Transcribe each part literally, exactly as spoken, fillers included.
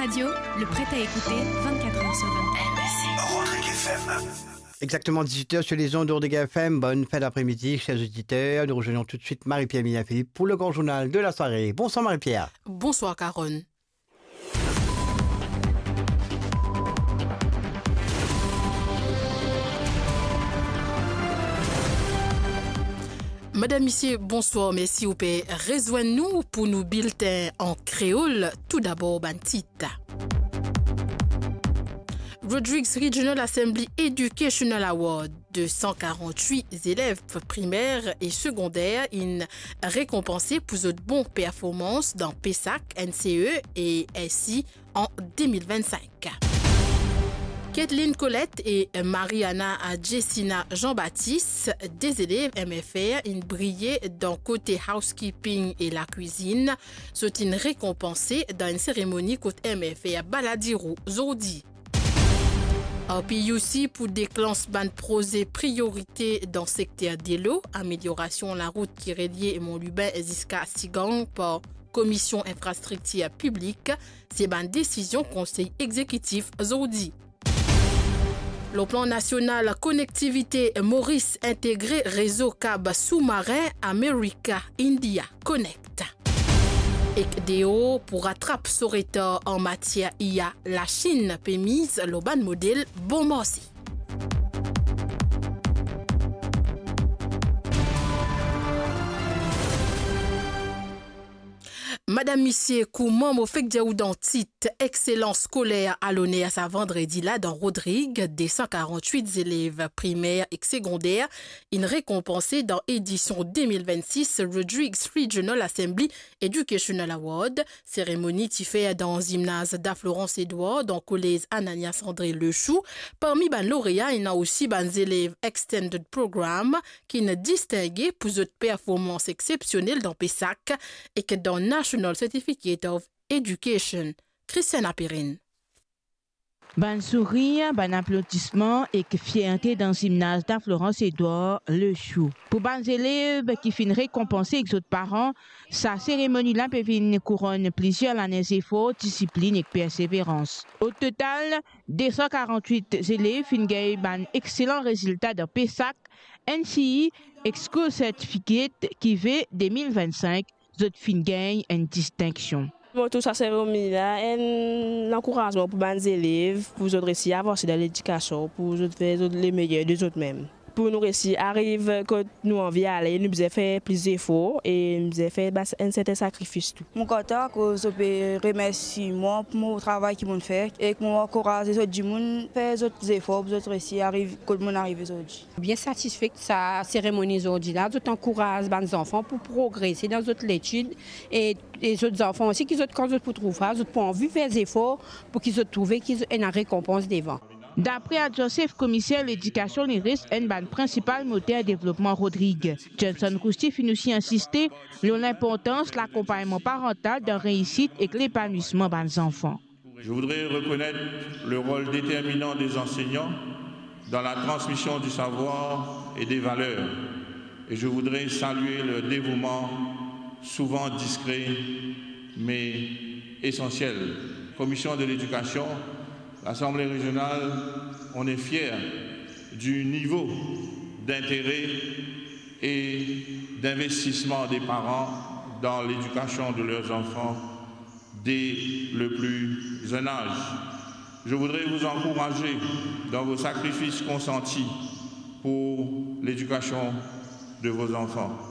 Radio, le prêt à écouter vingt-quatre heures sur vingt-quatre. Rodrigue F M. Exactement dix-huit heures sur les ondes de Rodrigue F M. Bonne fin d'après-midi, chers auditeurs. Nous rejoignons tout de suite Marie-Pierre Mignard-Philippe pour le grand journal de la soirée. Bonsoir Marie-Pierre. Bonsoir Carole. Madam, misie, bonswar, mersi ou pe rezwenn nou pou nou bilten an kreol. Toudabor, bann tit. Rodrigues Regional Assembly Educational Award, de san karant-wit zelev primer e segonder inn rekonpanse pou zot bon performans dan PESAC, NCE e SI an de mil vinn-sink. Kathleen Colette e Mariana Jessina Jean-Baptiste, de zelev MFR, inn briye dan kote housekeeping e lakwizinn. Zot inn rekonpanse dan enn seremoni kot MFR Baladiro zordi. RPUC pou deklans bann proze priorite dan sekter delo, ameliorasion larout ki relie Mont Lubin ziska Sigang par Komisyon Infrastriktir Piblik, se bann desizion Konsey Egzekitif zordi. Lor plan nasional, konektivite Moris integre rezo kab soumarin America India Connect. Ek deor pou ratrap so retar an matier I A, Lasinn pe miz lor bann model bon marse. Madam, misie, kouma mo fek dir ou dan tit, exselans skoler a loner sa vandredi la dan Rodrig, de san karant-wit zelev primer ek segonder inn rekonpanse dan edision de mil vinn-sis Rodrigues Regional Assembly Educational Award. Seremoni ti fer dan zimnaz Da Florence Edouard, dan kolez Ananias André Lechou. Parmi bann lorea, ena osi bann zelev Extended Program ki'nn distinge pou zot performans exsepsionel dan PESAC ek dan National Certificate of Education. Christiana Perrin. Bann sourir, bann aplodisman ek fierte dan zimnaz Da Florence Edouard Lechou. Pou bann zelev ki finn rekonpanse ek zot paran, sa seremoni la pe vinn kouronn plizier lane zefor, disiplinn ek perseverans. O total, de san karant-wit zelev finn gagn bann exselan rezilta dan PESAC, NCE ek School Certificate ki ve de mil vinn-sink, zot finn gagn enn distinksion. Mo trouv sa seremoni la enn ankourazman pou bann zelev, pou zot resi avanse dan ledikasion, pou zot fer zot lemeyer de zot mem. Pou nou resi ariv kot nou anvi ale, nou bizin fer plis zefor e nou bizin fer ba-, enn sertin sakrifis tou. Mo kontan akoz zot pe remersi mwa pou mo travay ki mo'nn fer, ek mo ankouraz lezot dimoun fer zot zefor pou zot resi ariv kot mo'nn arive zordi. Bien satisfe sa seremoni zordi la, zot ankouraz bann zanfan pou progrese dan zot letid e, e zot zanfan osi ki zot, kan zot pou trouv sa, zot pou anvi fer zefor pou ki zot trouve ki zot ena rekonpans devan. Dapre adwin sef komiser ledikasion, li res enn bann prinsipal moter devlopman Rodrig. Johnson Cousty finn osi insiste lor linportans lakonpagnman parantal dan reisit ek lepanwisman bann zanfan. Je voudrais reconnaître le rôle déterminant des enseignants dans la transmission du savoir et des valeurs. Et je voudrais saluer leur dévouement, souvent discret, mais essentiel. Commission de l'éducation, l'Assemblée régionale, on est fiers du niveau d'intérêt et d'investissement des parents dans l'éducation de leurs enfants dès le plus jeune âge. Je voudrais vous encourager dans vos sacrifices consentis pour l'éducation de vos enfants.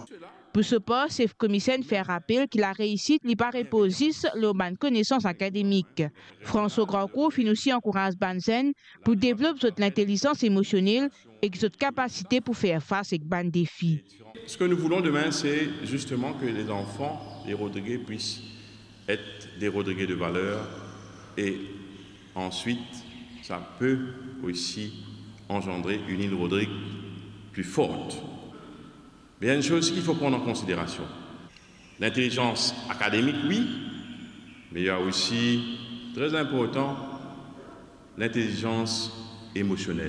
Pou so par, sef komiser fer rapel ki lareisit li pa repoz zis lor bann konesans akademik. François Grandcourt finn osi ankouraz bann zenn pou devlop zot lintelizans emosionel ek zot kapasite pou fer fas ek bann defi. Ce que nous voulons demain, c'est justement que les enfants, les Rodriguais, puissent être des Rodriguais de valeur et ensuite, ça peut aussi engendrer une île Rodrigue plus forte. Mais il y a une chose qu'il faut prendre en considération. L'intelligence académique, oui, mais il y a aussi, très important, l'intelligence émotionnelle.